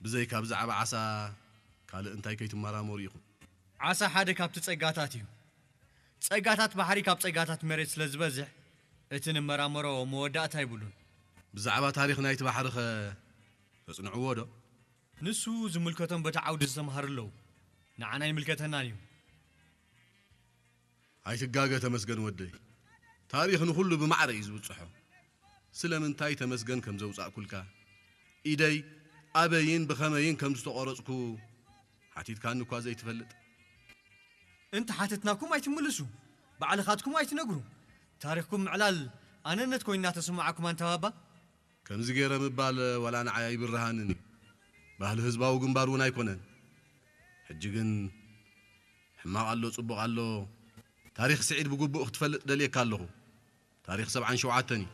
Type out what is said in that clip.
ብዘይካ ብዛዕባ ዓሳ ካልእ እንታይ ከይትመራመሩ ኢኹም? ዓሳ ሓደ ካብቲ ጸጋታት እዩ። ጸጋታት ባሕሪ ካብ ጸጋታት መሬት ስለ ዝበዝሕ፣ እቲ ንመራመሮ መወዳእታ ይብሉን። ብዛዕባ ታሪኽ ናይቲ ባሕሪ ኸ ተጽንዕዎ ዶ? ንሱ ዝምልከቶም በቲ ዓውዲ ዝተምሃሩ ኣለዉ። ንዓና ይምልከተናን እዩ። ኣይትጋገ ተመስገን ወደይ። ታሪኽ ንኹሉ ብማዕረ እዩ ዝብጽሖ። ስለምንታይ ተመስገን ከም ዘውጻእኩልካ፣ ኢደይ ኣበይን ብኸመይን ከም ዝተቖረጽኩ ሓቲትካኒ እኳ ዘይትፈልጥ። እንተ ሓተትናኩም ኣይትምልሱ፣ ባዕልኻትኩም ኣይትነግሩ። ታሪኽኩም ምዕላል ኣነነት ኮይና ተሰማዓኩም ኣንታ ባባ። ከምዚ ገይረ ምባል ዋላ ንዓይ ኣይብርሃንን እዩ። ባህሊ ህዝባዊ ግንባር እውን ኣይኮነን። ሕጂ ግን ሕማቕ ኣሎ ጽቡቕ ኣሎ፣ ታሪኽ ስዒድ ብግቡእ ክትፈልጥ ደልየካ ኣለኹ። ታሪኽ ሰብዓን ሸውዓተን እዩ።